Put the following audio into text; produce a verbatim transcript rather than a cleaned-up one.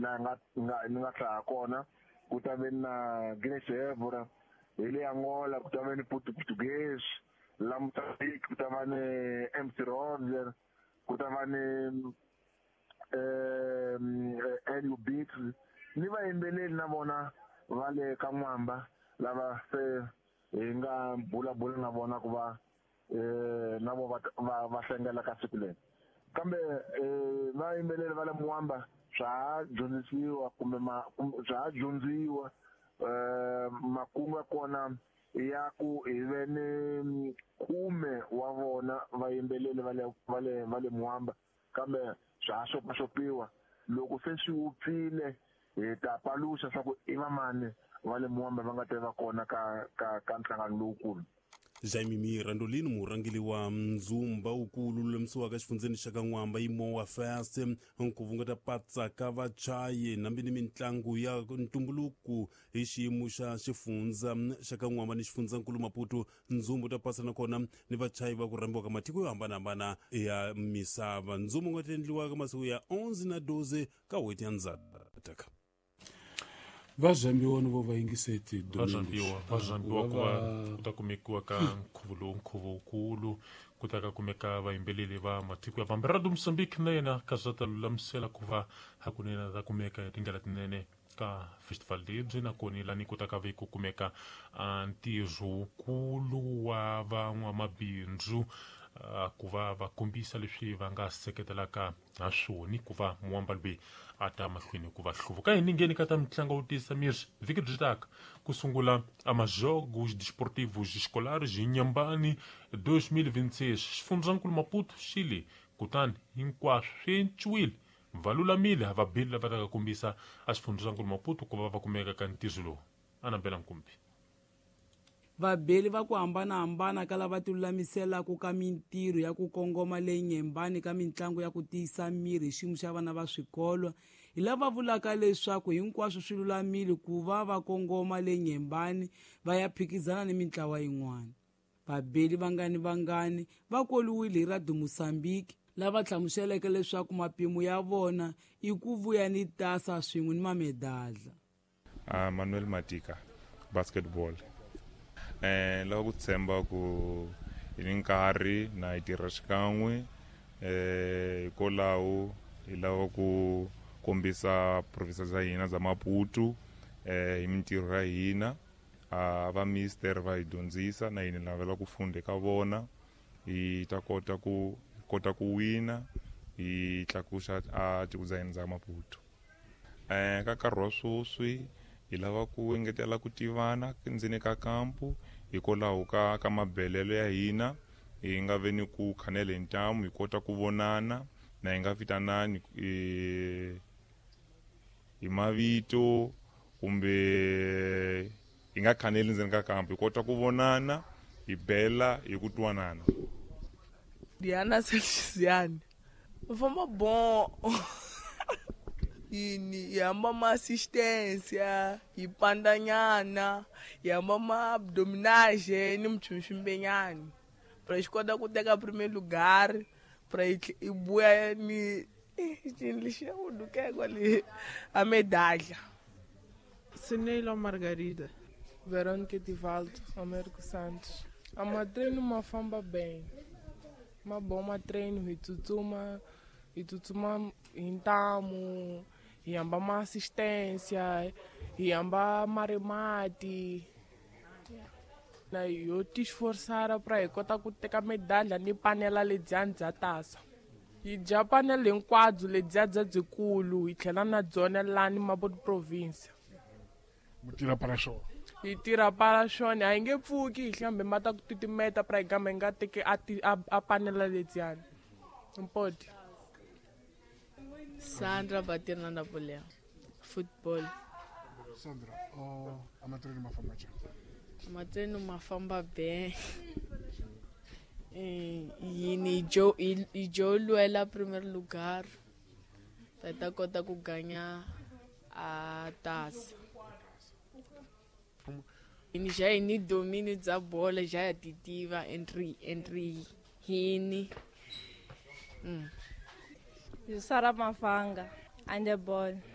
Laha nga nga ni nga hlaya kona ku ta ve na Grace Evora hi le Angola, ku ta ve ni Portuguese la Mozambique, ku ta va ni M C Roger, ku ta va ni eh L U Beats ni vayimbeleri na vona va le ka N'wamba lava se hi nga bulabula na vona ku va eh na vo va va hlengela ka siku leri. Kambe eh vayimbeleri va le Mwamba swa ha dyondzisiwa kumbe ma swa ha dyondziwa eh makungu ya kona ya ku hi ve ni khume wa vona vayimbeleri va le va le va le Mwamba, kambe swa ha xopaxopiwa. Loko se swi wupfile hi ta paluxa swa ku i vamani va le Mwamba va nga ta va kona ka ka ka nhlangano lowukulu. Jaime Mirandolino, murhangeri wa ndzumba wukulu lulamisiwaka exifundzeni xa ka N'wamba yi Mowa Fest, nkhuvo nga ta patsaka vachayi nambi ni mitlangu ya ntumbuluko hi xiyimo xa xifundza xa ka N'wamba ni xifundzankulu Maputo. Ndzumba ta pasa nakona ni vachayi va ku rhambiwa ka matiko yo hambanahambana ya misava. Ndzumba wu nga ta endliwa ka masiku ya onze na doze ka n'hweti ya Ndzati. Va zambiwa ni vo va yingiseti va zambiwa va zambiwa ku va ku ta kumekiwa ka nkhuvo lowu nkhuvo wukulu ku ta ka kumeka vayimbeleri va matiko ya vambirhi. Radio Mozambique na yena ka swa ta lulamisela ku va hakunene ta kumeka hi tindlela tinene ka festival lebyi, nakona lani ku ta ka ve ku kumeka ntirho wukulu wa van'wamabindzu ku va va kombisa leswi va nga seketelaka ha swona ku va Mwamba loyi a ta mahlweni ku va hluvuka. Hi ningheni ka ta mitlangu yo tiyisa miri vhiki byi taka ku sungula amajogos desportivos escolares hi Nyambani dois mil vinte e seis xifundzankulu Maputo xile, kutani hinkwaswo swi enciwile va lulamile vabili lava ta ka kombisa a xifundzankulu Maputo ku va va kumeka ka ntirho lowu. Anabela Nkumbi. Vabeli va ku hambanahambana ka lava ti lulamiselaka ka mintirho ya ku kongoma leyi Nyembani ka mitlangu ya ku tiyisa miri hi xiyimo xa vana va swikolo hi lava vulaka leswaku hinkwaswo swi lulamile ku va va kongoma le Nyembani va ya phikizana ni mintlawa yin'wana. Vabeli vangani vangani va koliwile hi Radio Mozambique lava hlamuseleke leswaku mapimo ya vona i ku vuya ni tasa swin'we ni mamedadla. Uh, Manuel Matika, basketball. Eh lava ku tshemba ku hi ni nkarhi na hi tirha xikan'we eh hikwalaho hi lava ku kombisa province bya hina bya Maputo eh hi mintirho ya hina. A va mister va hi dyondzisa na hina lavela ku funda eka vona hi ta kota ku kota ku wina hi tlakusa a tiko bya hina bya Maputo. Eh ka nkarhi wa sweswi hi lava ku engetela ku tivana ndzeni ka kampu hikwalaho ka ka mabelelo ya hina hi nga ve ni ku khanela hi ntamu hi kota ku vonana na hi nga vitanani hi mavito kumbe hi nga khaneli ndzeni ka kampu hi kota ku vonana hi bela hi ku twanana. Diana Selchiziane famba bon yini hi hamba ma assistência hi pandanyana hi hamba ma abdominage ni mchunxumbenyani pra xi kota ku teka primeiro lugar pra hi vuya ni cini lexi u dukeka le a medalha. Sineilo Margarida, Verônica Divaldo, Américo Santos. A matreino ma famba bem. Ma bom ma treino hi tsutsuma hi tsutsuma hi ntamu hi hamba ma assistência hi hamba marimati na yo ti esforçar pra hi kota ku teka medalha ni panela ledyani bya tasa. Hi dya panela hinkwabyo ledyiya bya byikulu hi tlhela na byona lani Maputo province. Mu tirha para swona? Hi tirha para swona, a hi nge pfuki hi hlambe mata ku titimeta pra hi gama hi nga teki a a panela ledyani. Mpoti. Sandra Batirna Napoleon, football. Sandra, oh, amatreno mafamba njhani? Amatreno mafamba bem. Yini jo i jo lwela primeiro lugar. Ta kota ku ganhar a taça. Ini já ini domínio da bola já é titiva entre entre hini. Mm. Yusara Mafanga, handball.